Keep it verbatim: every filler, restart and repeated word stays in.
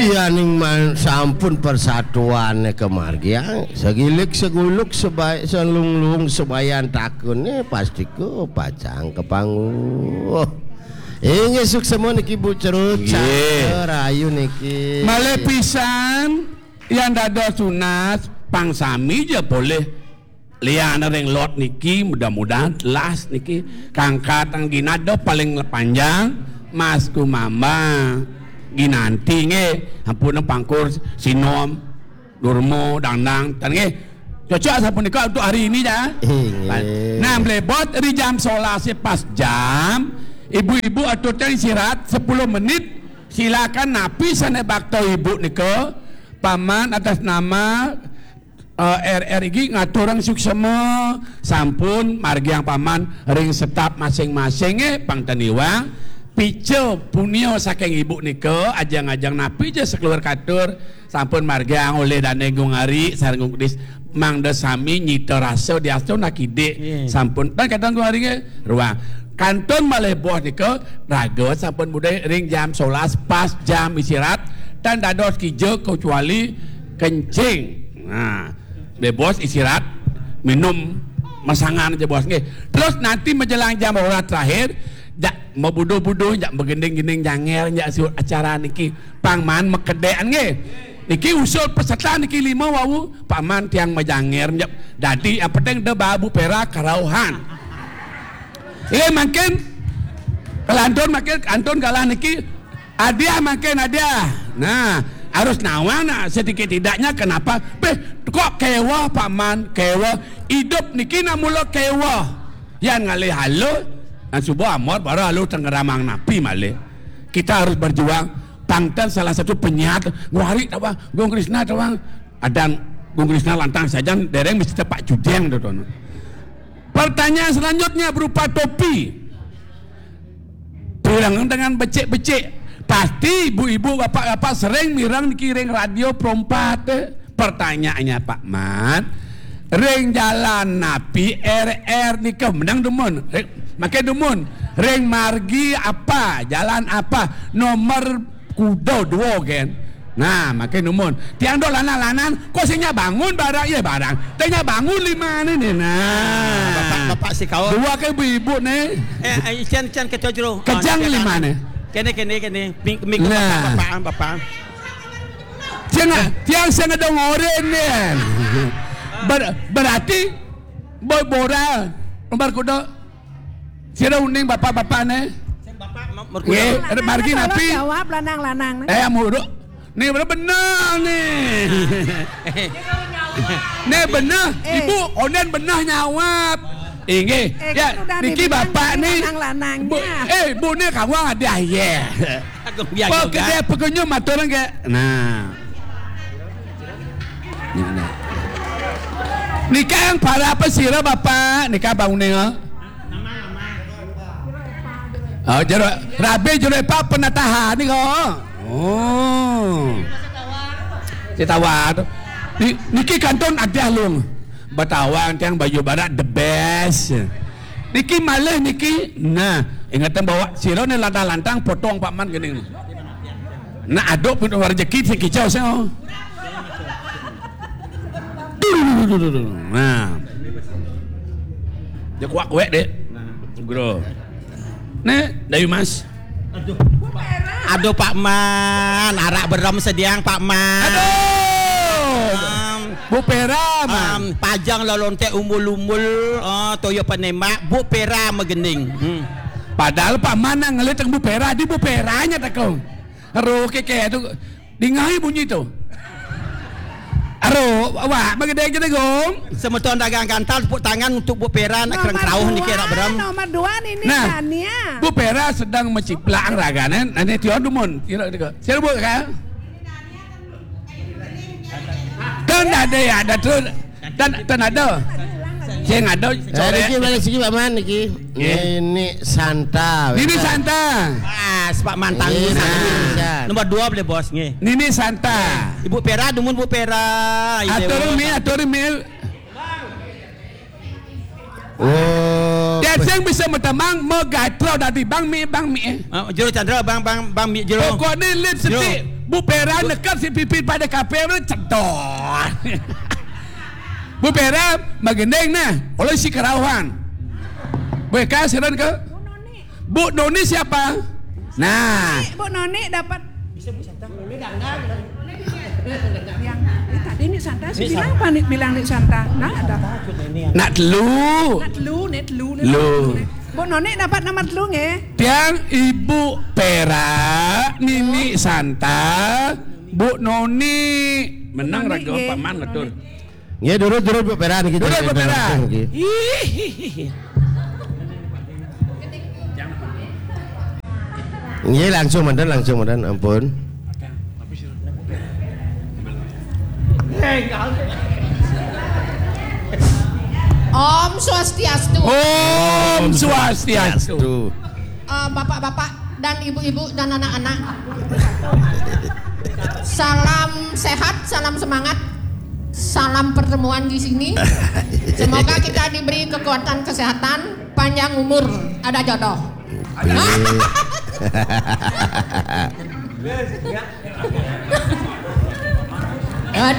Yaning man sampun persatuane kamargiang, sagilik saguluk sebaik salunglung sebayan takune pasti ke pacang kapanguh. Inggih suksema niki Bu Cerut, nggih. Rahayu niki. Malih pisan, yan dados tunas, pang sami ja polih. Lian ring lot niki, mudah-mudahan las niki kangkat ginada paling panjang, Mas Kumamba Ginanti nggih, ampun pangkur sinom, durma, dangdang, tan nggih. Cocok sapunika untuk hari ini ya. Inggih. Nah, mlebet ri jam sebelas pas jam, ibu-ibu aturang istirahat sepuluh menit, silakan napi sane bakta ibu nika, paman atas nama Eh, R R iki ngaturang suksema, sampun margiang paman ring setap masing-masing, eh, pang ten iwang. Pica punia saking ibu nika, ajeng-ajeng napi ja sakeluar katur, sampun margiang olih dane Gung Ari sareng Gung Kedis, mangda sami nyita rasa diastun akidik. Nggih. Sampun, tan kadang Gung Ari nggih, ruang. Kantun malih boh nika, raga sampun budai ring jam sebelas pas jam istirahat, tan dados kija kecuali kencing. Nah, bebos istirahat, minum masangan aja bos nggih. Terus nanti menjelang jam rolas terakhir, jak mabuduh-buduh, jak magending-gending janger, jak siut acara niki. Pang man makedekan nggih. Niki usul peserta niki lima wau, paman tiang majanger, jak. Dadi yang penting da babu pera karauhan. Nggih, mangkin kelantur mangkin kantun galah niki hadiah mangkin hadiah. Nah, harus nawang nah, sedikit tidaknya kenapa? Beh, kok keweh, paman, keweh. Idup niki nak mula keweh. Yan ngalih haluh, nah suba amot baru haluh tenggeramang napi malih. Kita harus berjuang. Pang ten salah satu penyiar, Gung Ari tawang, Gung Krisna tawang. Adan Gung Krisna lantang sajan, dereng mesti Pak Judeng tu, tu. Pertanyaan selanjutnya berupa topi. Pireng dengan becik-becik. Pasti ibu-ibu, bapak-bapak sering mireng niki ring radio Pro empat, eh. Pertanyaannya, Pak Man, ring jalan napi R R nika menang dumun? Ring, makin dumun. Ring margi apa? Jalan apa? Nomor kuda dua kan. Nah, makin dumun. Tiang dok lanang-lanang, kok sing nyak bangun barang, iya barang. Teh nyak bangun lima ni, ni. Nah. Bapak, bapak si kawan. Dua ke ibu-ibu ni. Eh, eh, cian, cian kecoh jero. Kejang ah, lima ni. Kene, kene, kene. Mik, mik, nah. Bapak, bapak, bapak. Tiang, tiang sing ngedengerin ni. Ber-, berarti boy boral, nomor kuda. Sira uning bapak-bapak ni. Sing bapak, ma-, merkuda. Nggih, ada margi napi? Jawab lanang-lanang ni. Eh, muruk. Ni bener, bener ni. Ni bener. Eh. Ibu, onden bener nyawab. Inggih. Eh, ya, kan udah niki dibilang bapak ni. Lanang-lanangnya. Bu, eh, bu ni kawan ada ya. Aku biar juga. Kedai pekenyum atur ke. Nah. Nah, nah. Nika yang para apa sira bapak? Nika bangunnya. Oh, jero, rabi jero apa penatahan ni kok? Oh. Cetawar. Ni, niki kantun ada lung. Betawang tiang Bayu Barat the best. Niki malih niki. Nah, ingatan bawa sira ni lantang-lantang potong Pak Man gini. Nah, aduk pun rezeki sing kicau sing. Nah. Dia kuat-kuat dek. Bro. Nih, Dayu Mas. Aduh, Pak Man, arak berem sediang Pak Man. Aduh. Am, Bu Pera, Man. Am, pajang lolonte umbul-umbul, oh, toyo penembak, Bu Pera megending. Hmm. Padahal Pak Man nang ngelit Bu Pera, di Bu Peranya tekong. Ero keke tu, dingai bunyi tu. Ero, awak magedeng kita gong. Semeton dagang gantal tepuk tangan untuk Bu Pera nak kereng kerauh niki rak berem. Nomor dua ni ni nah, Tania. Bu Pera sedang menciplak ragane, nane tion dumun. Kira kira. Siapa Bu kan? Kan ada ya, ada tu. Tan, tan ada. Sing ada. Eh, niki balik siki Pak Man niki. Nggih. Nini Santa. Nini Santa. Pas Pak Man tangguh. Nggih, Santa. Nah. Nomor dua boleh bos nggih. Nini Santa. Ibu Pera, dumun Bu Pera. Atur mi, atur mi. Oh. Dia sing bisa metemang, megatra dadi bang mi, bang mi. Ah, jero Chandra, bang, bang, bang mi jero. Pokoknya lip stick. Bu Pera nekep si pipit pada kape mana cedor. Bu Pera magending nah, oleh si kerauhan. Bu Eka siran ke Bu Noni siapa? Nah, Bu Noni dapat yang eh, tadi Nik Santa, saya bilang apa nih, bilang Nik Santa? Nah, ada. Nak telu. Nak telu, nih telu nih. Lu. Bu Noni dapat nomor telu nggih. Tiang Ibu Pera, Nini Santa, Bu Noni. Menang Noni, raga nggih. Paman betul. Nggih, durut durut Bu Pera niki. Durut, Bu Pera. Nggih. Ih. Nggih, langsung mantun, langsung mantun, ampun. Om Swastiastu. Om Swastiastu. Tuh. Eh, Bapak-bapak dan ibu-ibu dan anak-anak. Salam sehat, salam semangat, salam pertemuan di sini. Semoga kita diberi kekuatan kesehatan, panjang umur, ada jodoh.